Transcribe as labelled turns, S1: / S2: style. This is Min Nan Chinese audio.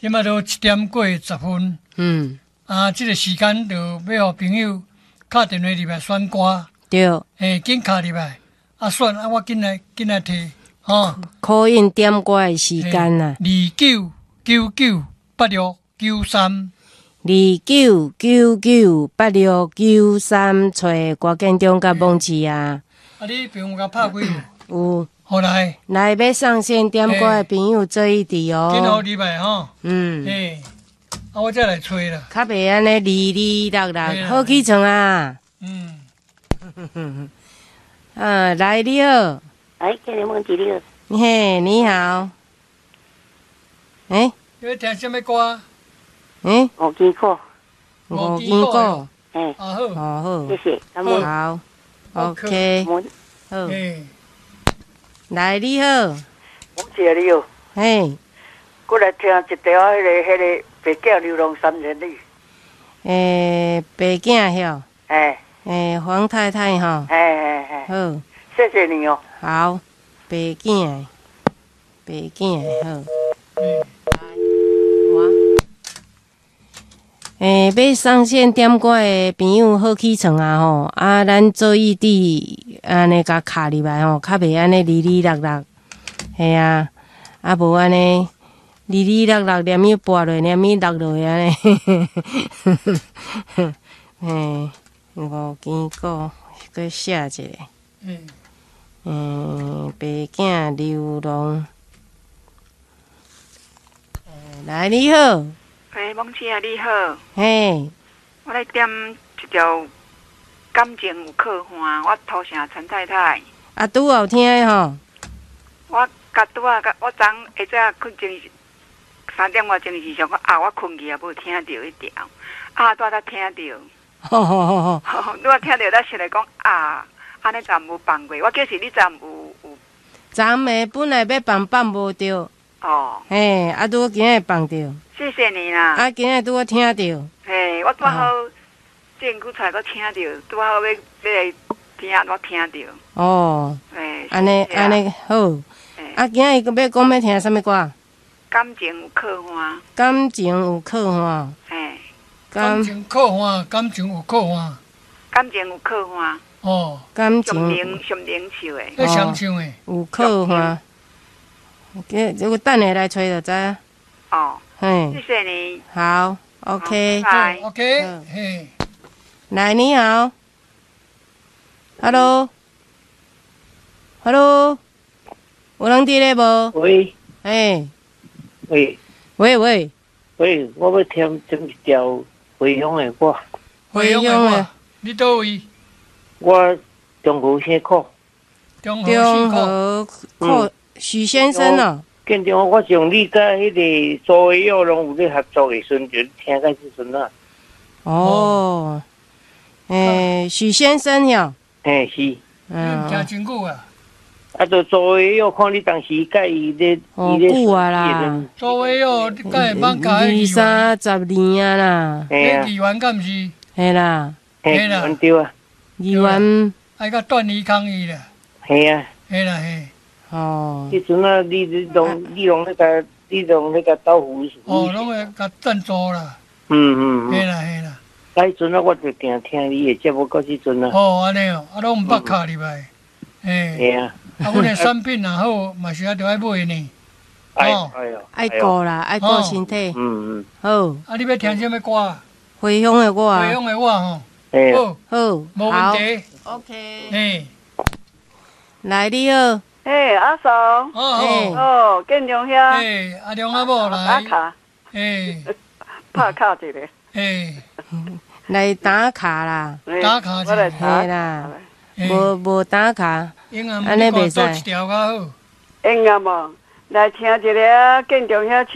S1: 這擺都1點過10分。啊，這個時間就欲予朋友敲電話入來選歌。嘿，緊敲入來，啊選啊，我緊來緊來提，吼。
S2: call in 點歌的時間啊。
S1: 29998693。
S2: 29998693，揣郭建中佮罔市啊。
S1: 啊，你朋友共拍開無？
S2: 有。
S1: 好來。
S2: 來欲上線點歌的朋友做一佇哦。
S1: 緊予入來吼。嘿，啊，我再來揣啦。
S2: 較袂按呢二二六六，好起床啊。啊，來你好。
S3: 哎，建中罔市你好。
S2: 嘿，你好。欸？
S1: 你欲聽啥物歌？
S2: 欸？
S3: 五更鼓。
S2: 五更鼓。
S3: 嘿。
S1: 啊好。
S2: 哦好。
S3: 謝謝。
S2: 好。OK。好。來你好。
S4: 罔市你好。
S2: 嘿。
S4: 過來聽一條彼個白囝流浪三千里。
S2: 欸，白囝曉。
S4: 嘿。
S2: 欸，黃太太吼。
S4: 嘿嘿嘿。
S2: 好。
S4: 謝謝你哦。
S2: 好，白囝，白囝好。我。欸，欲上線點歌的朋友好起床啊吼！啊，咱做一佇按呢共敲入來吼，較袂按呢二二六六，嘿啊，啊無按呢二二六六連伊撥落，連伊落落按呢。嘿，五更鼓，閣寫一下。嗯，白囝流浪。來，你好。
S5: 欸，罔市啊，你好。
S2: 嘿。
S5: 我來點一條感情有靠岸，我土城陳太太。
S2: 啊，拄好聽的吼。
S5: 我佮拄仔，我昨下早睏前3點外鐘時想講啊，我睏去也無聽著彼條，啊，拄仔才聽著。
S2: 吼吼吼吼。
S5: 拄仔聽著，才想來講啊，按呢昨無放過，我叫是你昨有。
S2: 昨暝本來欲放放無著。
S5: 哦。
S2: 嘿，啊，拄仔今日放著。
S5: 謝謝你啦。
S2: 啊，今日拄仔聽著。
S5: 嘿，我拄好證據出來，閣聽著，拄好欲欲來聽，我聽著。
S2: 哦。
S5: 嘿。
S2: 按呢按呢好。啊，今日閣欲講欲聽啥物歌？
S5: 感情有靠岸。
S2: 感情有靠岸。
S5: 嘿。
S1: 感情靠岸，感情有靠岸。
S5: 感情有靠岸。
S1: 哦。
S2: 感情。
S5: 上明唱的。
S1: 彼誰唱的？
S2: 有靠岸。這個等下來揣就知。
S5: 哦。
S2: 嘿。
S5: 謝謝你。
S2: 好，OK。
S5: 拜。
S1: OK，嘿。
S2: 來，你好。Hello。Hello。有人佇咧無？
S6: 喂。
S2: 嘿。
S6: 喂。
S2: 喂喂。
S6: 喂，我欲聽點一條回鄉的歌。
S1: 回鄉的歌，你佗位？
S6: 我中和姓柯。
S1: 中
S2: 和柯許先生哦。
S6: 建中，我上你佮彼個蘇偉耀攏有咧合作的時陣，就聽到這陣啊。
S2: 哦，欸，許先生喲。
S6: 嘿，是。
S1: 嗯，聽真久啊。
S6: 啊，就蘇偉耀看你當時佮伊咧，
S2: 哦，久啊啦。
S1: 蘇偉耀，你敢會茫佮
S2: 二三十年啊啦。
S1: 彼議員敢毋是？
S2: 嘿啦。
S6: 嘿啦。對啊。
S2: 議員。
S1: 愛佮段宜康伊啦。
S6: 嘿啊。
S1: 嘿啦嘿。
S2: 哦。
S6: 彼陣啊，你攏咧共，你攏咧共斗扶。
S1: 哦，攏會共贊助啦。嘿啦嘿啦。
S6: 啊，彼陣啊，我就定聽你的節目到這陣啊。
S1: 哦，按呢哦，啊，攏毋捌敲入來。嘿。
S6: 嘿啊。
S1: 啊，阮的產品若好，嘛是愛著愛買呢。
S6: 哦，
S2: 愛顧啦，愛顧身體。好。
S1: 啊，你欲聽啥物歌？
S2: 回鄉的我。
S1: 回鄉的我吼。好。
S2: 好。
S1: 無問題。
S2: OK。
S1: 嘿。
S2: 來，你好。
S7: 嘿，阿嫂。
S1: 哦
S7: 哦，建中兄。
S1: 嘿，阿龍阿某來。
S7: 打卡。
S1: 嘿。
S7: 拍卡一下。
S1: 嘿。
S2: 來打卡啦。
S1: 打卡
S7: 我來打
S2: 嘿啦。無無打卡，按呢袂使。
S1: 做一條較好。
S7: 會用無？來聽一下建中兄唱。